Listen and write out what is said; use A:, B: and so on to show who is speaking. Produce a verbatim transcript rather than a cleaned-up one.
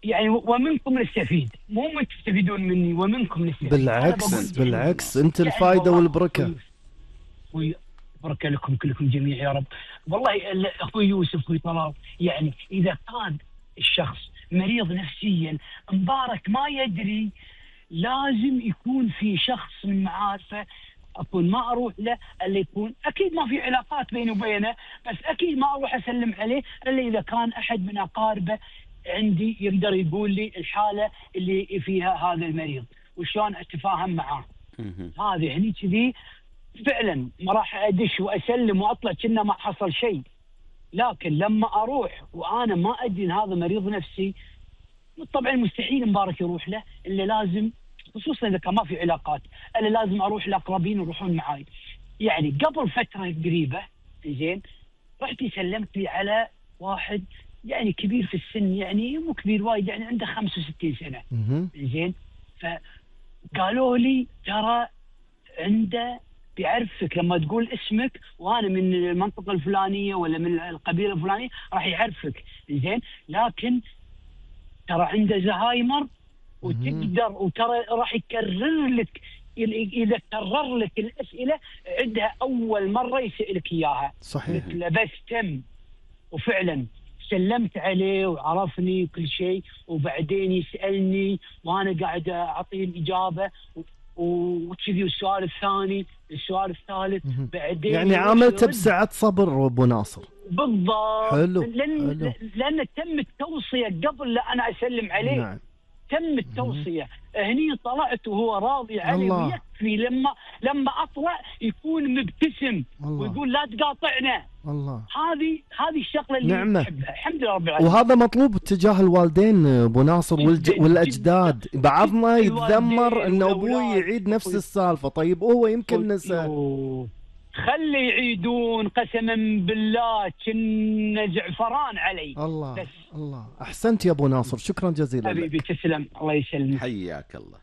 A: يعني ومنكم نستفيد، مو من تستفيدون مني، ومنكم نستفيد.
B: بالعكس بالعكس انت الفائده يعني والبركه.
A: اخوي بركه لكم كلكم جميع يا رب. والله اخوي يوسف اخوي طلال، يعني اذا كان الشخص مريض نفسيا مبارك ما يدري، لازم يكون في شخص من معارفه اكون ما اروح له الا يكون اكيد ما في علاقات بيني وبينه، بس اكيد ما اروح اسلم عليه الا اذا كان احد من اقاربه عندي يقدر يقول لي الحاله اللي فيها هذا المريض وشلون اتفاهم معاه. هذه هني كذي فعلا ما راح ادش واسلم واطلع كأنه ما حصل شيء. لكن لما اروح وانا ما ادري ان هذا مريض نفسي، طبعا مستحيل مبارك يروح له، الا لازم خصوصا اذا كان ما في علاقات، انا لازم اروح لاقربين يروحون معاي. يعني قبل فتره قريبه زين رحت سلمت لي على واحد يعني كبير في السن، يعني مو كبير وايد، يعني عنده خمسة وستين سنه زين. فقالوا لي ترى عنده بيعرفك لما تقول اسمك وانا من المنطقه الفلانيه ولا من القبيله الفلانيه راح يعرفك زين، لكن ترى عنده زهايمر وتقدر وترى راح يكرر لك، اذا كرر لك الاسئله عندها اول مره يسالك اياها.
B: صحيح.
A: قلت له بس تم، وفعلا سلمت عليه وعرفني كل شيء، وبعدين يسالني وانا قاعد اعطيه الاجابه وكذي. السؤال الثاني السؤال الثالث بعدين
B: يعني عملت بسعة صبر ابو ناصر.
A: بالضبط.
B: حلو.
A: لان
B: حلو.
A: لان تم التوصيه قبل لا انا اسلم عليه.
B: نعم.
A: تم التوصيه هني طلعت وهو راضي علي، ويكفي لما لما اطلع يكون مبتسم الله. ويقول لا تقاطعنا.
B: الله.
A: هذه هذه الشغله اللي
B: نعمة.
A: نحبها الحمد لله رب العالمين.
B: وهذا مطلوب تجاه الوالدين ابو ناصر والج... والاجداد. بعضنا يتذمر ان ابوي يعيد نفس السالفه، طيب هو يمكن نسى.
A: خلي يعيدون قسما بالله كنا زعفران علي.
B: الله
A: بس.
B: الله. احسنت يا ابو ناصر، شكرا جزيلا
A: حبيبي
B: لك.
A: تسلم، الله يسلمك.
C: حياك الله.